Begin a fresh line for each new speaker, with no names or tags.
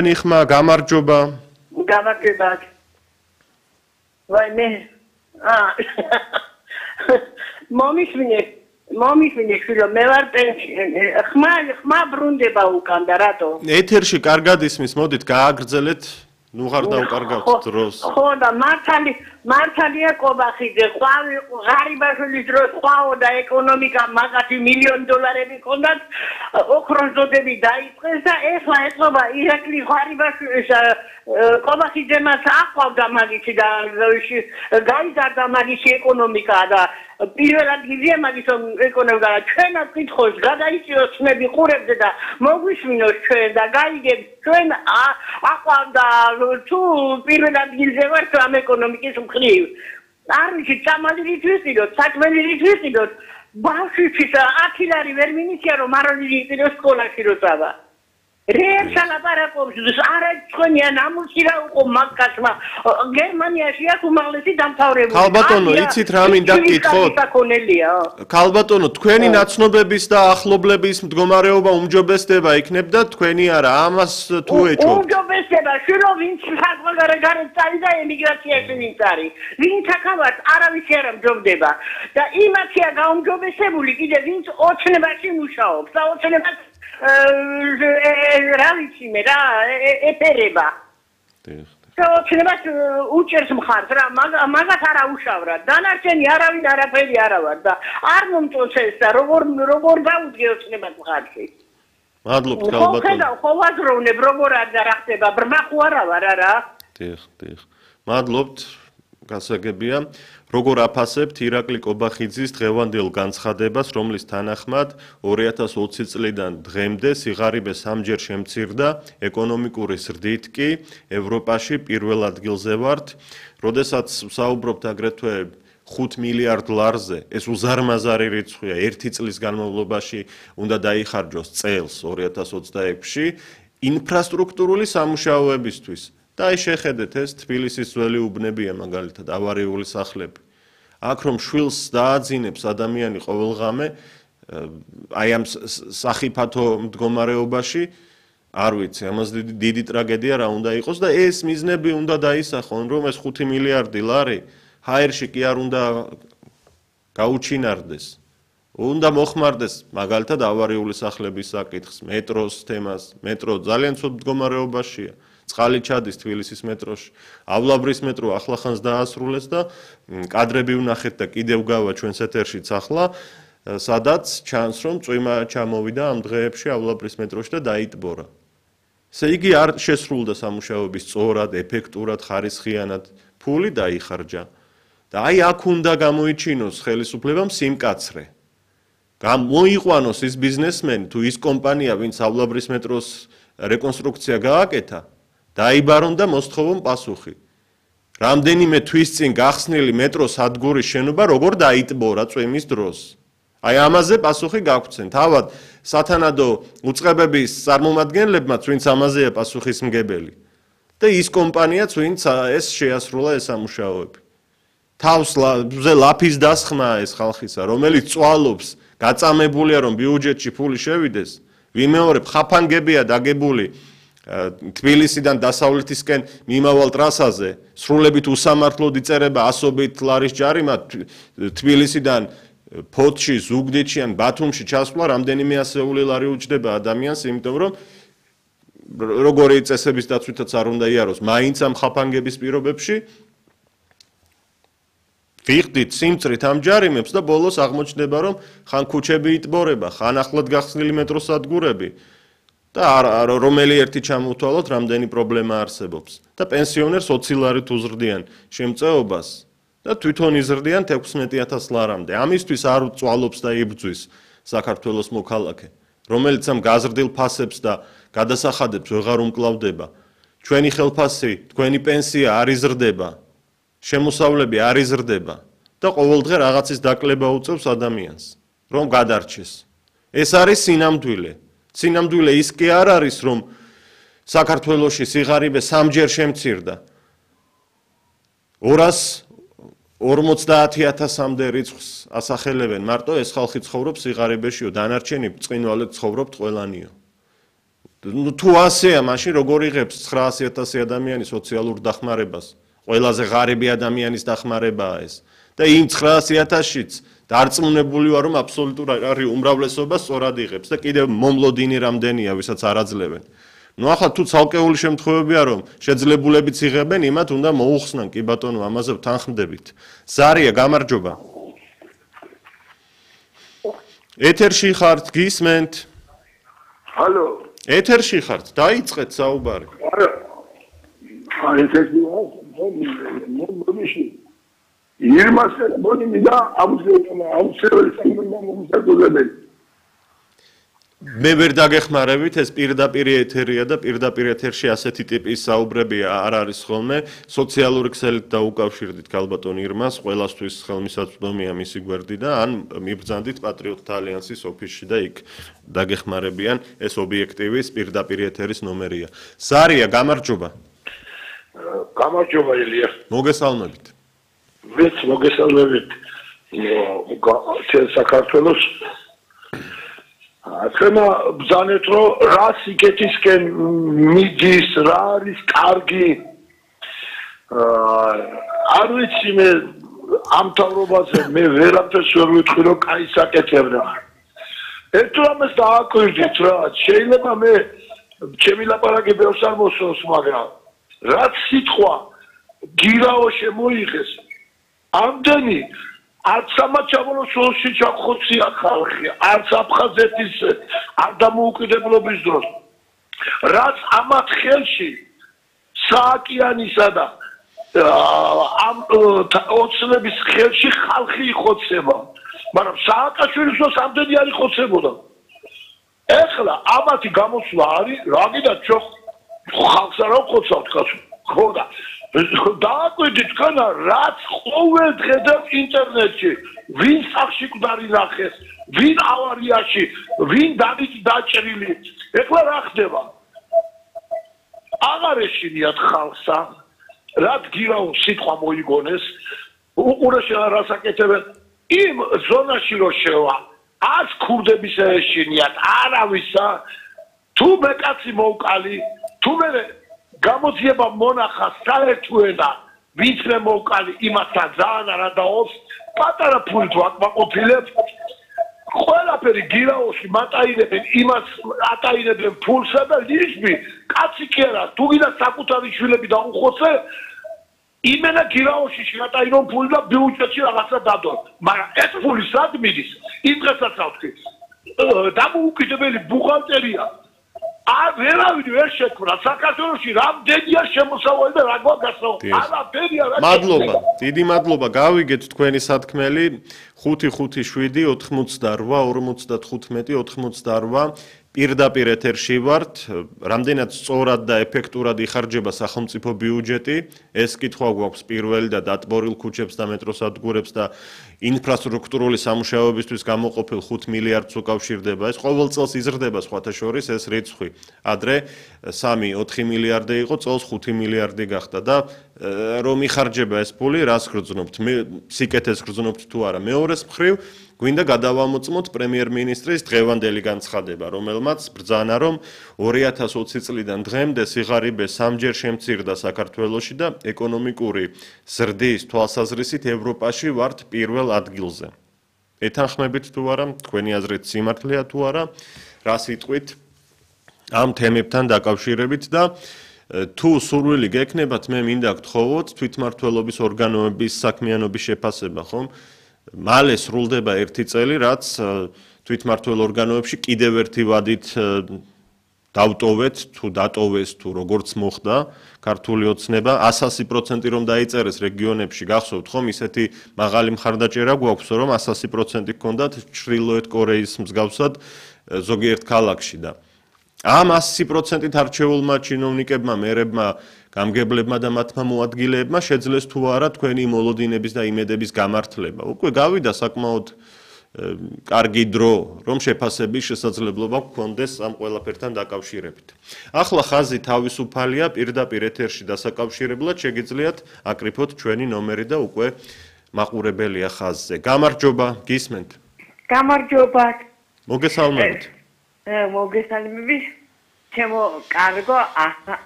Nixma გამარჯობა.
გამარჯობა. ვაი მე მომისმინე შვილო მე ვარ ხმა ბრუნდება უკან და რატო?
ეთერში კარგად ისმის, მოდით გააგრძელეთ, ნუ ხარ დაუკარგავთ დროს.
ხო და მართალია კობახიძე, ღარიბაშვილის დროს ყვაო და ეკონომიკა მაგათი $1,000,000 ჰქონდათ, ოქროს დოდები დაიწყეს და ეხლა ეწობა ირაკლი ღარიბაშვილის კობახიძემაც აყვავდა მაგისი და გაიზარდა მაგისი ეკონომიკა და პირველად გიზია მაგის ეკონომიკა და ჩვენაც კითხოს გადაიწიოს ცნები ყურებზე და მოგვისმინოს ჩვენ და გაიგებთ ჩვენ აყვავდა თუ პირველად გიზია ვართ ამ ეკონომიკის მხრივ არ ვიცი წამალი რით ვიყიდოთ საჭმელი რით ვიყიდოთ ბავშვისთვის 10 ლარი ვერ მინიცია რომ არ იყიდოს სკოლაში როცა რეერსა ლაპარაკობს არა თქვენია ნამუსი რა უყო მაგკაცმა გერმანიაში აქვს უმაღლესი დამთავრებული
ქალბატონო იცით რა მინდა გკითხოთ ქალბატონო თქვენი ნაცნობების და ახლობლების მდგომარეობა უმჯობესდება იქნებდა თქვენი არა ამას თუ ეჭვობთ
უმჯობესდება შვილო ვინც საზღვარგარეთ წავიდა ემიგრაციაში ვინც არის ვინც აქავართ არავის არ ამჯობდება და იმათია გაუმჯობესებული კიდე ვინც ოცნებაში მუშაობს და ოცნებას რა ვიცი მე რა ეფერება ოცნებას უჭერს მხარს რა მაგათ არა უშავრა დანარჩენი არავინ არაფერი არა ვარ და არ მომწონს ეს და როგორ დაუდგე ოცნებას მხარში
მადლობთ ქალბატონო
ხო ვაზროვნებ როგორ არა რა ხდება ბრმა ხო არა ვარ არა
დიახ მადლობთ გასაგებია როგორ აფასებთ ირაკლი კობახიძის დღევანდელ განცხადებას, რომლის თანახმად 2020 წლიდან დღემდე სიღარიბე 3-ჯერ შემცირდა, ეკონომიკური ზრდით კი ევროპაში პირველ ადგილზე ვართ, როდესაც ვსაუბრობთ აგრეთვე 5 მილიარდ ლარზე, ეს უზარმაზარი რიცხვია, 1 წლის განმავლობაში უნდა დაიხარჯოს წელს 2026-ში ინფრასტრუქტურული სამუშაოებისთვის. და აი შეხედეთ ეს თბილისის ძველი უბნებია მაგალითად ავარიული სახლები. აქ რომ შვილს დააძინებს ადამიანი ყოველღამე აი ამ სახიფათო მდგომარეობაში არ ვიცი, ამას დიდი ტრაგედია რა უნდა იყოს და ეს მიზნები უნდა დაისახონ, რომ ეს 5 მილიარდი ლარი ჰაერში კი არ უნდა გაუჩინარდეს. უნდა მოხმარდეს მაგალითად ავარიული სახლების საკითხს, მეტროს თემას, მეტრო ძალიან ცუდ მდგომარეობაშია. წყალი ჩადის თბილისის მეტროში. ავლაბრის მეტრო ახლახანს დაასრულეს და კადრები ვნახეთ და კიდევ გავა ჩვენს ეთერშიც ახლა, სადაც ჩანს რომ წვიმა ჩამოვიდა ამ დღეებში ავლაბრის მეტროში და დაიტბორა. ესე იგი არ შესრულდა სამუშაოების სწორად, ეფექტურად, ხარისხიანად, ფული დაიხარჯა. და აი აქ უნდა გამოიჩინოს ხელისუფლებამ სიმკაცრე. გამოიყვანოს ის ბიზნესმენი თუ ის კომპანია, ვინც ავლაბრის მეტროს რეკონსტრუქცია გააკეთა, დაიბარონ და მოსთხოვონ პასუხი. რამდენიმე თვის წინ გახსნილი მეტროს სადგურის შენობა როგორ დაიტბორა წვიმის დროს. აი ამაზე პასუხი გაგვცენ. თავად სათანადო უწყებების წარმომადგენლებმაც ვინც ამაზეა პასუხისმგებელი. და ის კომპანიაც ვინც ეს შეასრულა ეს სამუშაოები. თავზე ლაფის დასხმაა ეს ხალხისა, რომელიც წვალობს, გაწამებულია რომ ბიუჯეტში ფული შევიდეს, ვიმეორებ ხაფანგებია დაგებული თბილისიდან დასავლეთისკენ მიმავალ ტრასაზე, სრულებით უსამართლოდ იწერება ასობით ლარის ჯარიმა თბილისიდან ფოთში, ზუგდიდში ან ბათუმში ჩასვლა რამდენიმე ასეული ლარი უჯდება ადამიანს, იმიტომ რომ როგორი წესების დაცვითაც არ უნდა იაროს, მაინც ამ ხაფანგების პირობებში ვიხდით სიმწრით ამ ჯარიმებს და ბოლოს აღმოჩნდება რომ ხან ქუჩები იტბორება, ხან ახლად გახსნილი მეტროს სადგურები და რომელი ერთი ჩამოვთვალოთ რამდენი პრობლემა არსებობს და პენსიონერს 20 ლარით უზრდიან შემწეობას და თვითონ იზრდიან 16,000 ლარამდე. ამისთვის არ წვალობს და იბრძვის საქართველოს მოქალაქე, რომელიც ამ გაზრდილ ფასებს და გადასახადებს ვეღარ უმკლავდება. ჩვენი ხელფასი, თქვენი პენსია არ იზრდება, შემოსავლები არ იზრდება და ყოველდღე რაღაცის დაკლება უწევს ადამიანს, რომ გადარჩეს. ეს არის სინამდვილე. სინამდვილე ის კი არ არის, რომ საქართველოში სიღარიბე 3-ჯერ შემცირდა. 250,000-მდე რიცხვს ასახელებენ მარტო ეს ხალხი ცხოვრობს სიღარიბეშიო, დანარჩენი ბრწყინვალედ ცხოვრობთ ყველანიო. თუ ასეა, მაშინ როგორ იღებს 900,000 ადამიანი სოციალურ დახმარებას? ყველაზე ღარიბი ადამიანის დახმარებაა ეს. და იმ 900,000-შიც დარწმუნებული ვარ, რომ აბსოლუტურ არის უმრავლესობა სწორად იღებს და კიდევ მომლოდინი რამდენია, ვისაც არ აძლევენ. ახლა თუ ცალკეული შემთხვევებია, რომ შეძლებულებიც იღებენ, იმათ უნდა მოუხსნან, კი ბატონო, ამაზე ვთანხმდებით. ზარია, გამარჯობა. ეთერში ხართ, გისმენთ?
ჰალო.
ეთერში ხართ, დაიწყეთ საუბარი.
ეთერში ვარ, მომიში. ირმას მონი და აუცილებელი სამომსახურებელი.
მე ვერ დაგეხმარებით, ეს პირდაპირ ეთერია და პირდაპირ ეთერში ასეთი ტიპის საუბრები არ არის ხოლმე. სოციალური ქსელით დაუკავშირდით ქალბატონ ირმას, ყველასთვის ხელმისაწვდომია მისი გვერდი და ან მიბრძანდით პატრიოტთა ალიანსის ოფისში და იქ დაგეხმარებიან, ეს ობიექტივის პირდაპირ ეთერის ნომერია. ზარია, გამარჯობა.
გამარჯობა ილია.
მოგესალმებით.
მეც მოგესალმებით. საქართველოს ახლა ბრძანეთ რომ რა სიკეთისკენ მიდის, რა არის კარგი. არ ვიცი მე ამ თავრობაზე მე ვერაფერს ვერ ვიტყვი რომ კაი საკეთებდა. ერთ რამეს დააკვირდით რა, შეიძლება მე ჩემი ლაპარაკი ბევრს არ მოსწონს, მაგრამ რაც სიტყვა გირაო შემოიღეს, ამდენი არც სამაჩაბლოს სულში ჩახოცია ხალხი, არც აფხაზეთის არ დამოუკიდებლობის დროს. რაც ამათ ხელში სააკიანისა და ამ ოცნების ხელში ხალხი იხოცება, მაგრამ სააკაშვილის დროს ამდენი არ იხოცებოდა. ეხლა ამათი გამოსვლა არის, რა გინდა ჩვენ ხალხს არ ვხოცავთ კაცო. ხო და დააკვირდით თქვენ რაც ყოველ დღე და ინტერნეტში ვინ სახში გვდარი ნახეს, ვინ ავარიაში, ვინ დაჭრილი. ეხლა რა ხდება? აღარ ეშინიათ ხალხსა, რაც გირაო სიტყვა მოიგონეს, უყურეში რასაკეთებენ იმ ზონაში რო შევა, ას ქურდების ეშინიათ, არავისა, თუ მე კაცი მოვკალი, თუ მე გამოძიება მონახა საერთოენა ვიცრე მოვკალი იმასთან ძალიან არა დაოს პატარა ფულით ვაკმაყოფილებ ყველაფერი გირაოში მატაინებენ იმას ატაინებენ ფულსა და ლიშბი კაცი კი არა თუ გინდა საკუთარი შვილები დაუხოცე იმენა გირაოში შეგატაინონ ფული და ბიუჯეტში რაღაცა დადონ მაგრამ ეს ფული სად მიდის იმ დღესაც ავთქვი დამოუკიდებელი ბუღალტერია ვერავინ ვერ შექმნა საქართველოში რამდენია შემოსავალი და რა გვაგასაუბრა არაფერია რა
მადლობა დიდი მადლობა გავიგეთ თქვენი სათქმელი 557 88 55 88 პირდაპირ ეთერში ვართ რამდენად სწორად და ეფექტურად იხარჯება სახელმწიფო ბიუჯეტი ეს კითხვა გვაქვს პირველი და დატბორილ ქუჩებს და მეტროსადგურებს და ინფრასტრუქტურული სამუშაოებისთვის გამოყოფილ 5 მილიარდს უკავშირდება ეს ყოველ წელს იზრდება სხვათა შორის ეს რიცხვი ადრე 3-4 მილიარდი იყო წელს 5 მილიარდი გახდა და რომ იხარჯება ეს ფული რას გრძნობთ სიკეთეს გრძნობთ თუ არა მეორეს მხრივ გვინდა გადავამოწმოთ პრემიერ-მინისტრის დღევანდელი განცხადება, რომელმაც ბრძანა, რომ 2020 წლიდან დღემდე სიღარიბე სამჯერ შემცირდა საქართველოში და ეკონომიკური ზრდის თვალსაზრისით ევროპაში ვართ პირველ ადგილზე. ეთანხმებით თუ არა, თქვენი აზრით სიმართლეა თუ არა, რა სიტყვით ამ თემებთან დაკავშირებით და თუ სურვილი გექნებათ, მე მინდა გთხოვოთ თვითმმართველობის ორგანოების საქმიანობის შეფასება, ხომ? მალე სრულდება 1 წელი, რაც თვითმმართველ ორგანოებში კიდევ ერთი ვადით დავტოვეთ, თუ დატოვეს, თუ როგორც მოხდა ქართული ოცნება 100% რომ დაიწერეს რეგიონებში, გახსოვთ ხომ, ისეთი მაღალი მხარდაჭერა გვაქვს, რომ 100% გქონდათ ჩრდილოეთ კორეის მსგავსად ზოგიერთ ქალაქში და ამ 100%-ით არჩეულმა ჩინოვნიკებმა, მერებმა, გამგებლებმა და მათმა მოადგილეებმა შეძლეს თუ არა თქვენი მოლოდინების და იმედების გამართლება. უკვე გავიდა საკმაოდ კარგი დრო, რომ შეფასების შესაძლებლობა გქონდეს ამ ყველაფერთან დაკავშირებით. ახლა ხაზი თავისუფალია, პირდაპირ ეთერში დასაკავშირებლად შეგიძლიათ აკრიფოთ ჩვენი ნომერი და უკვე მაყურებელია ხაზზე. გამარჯობა, გისმენთ?
გამარჯობა.
მოგესალმებით.
მოგესალმებით. ჩემო კარგო ახალგაზრდა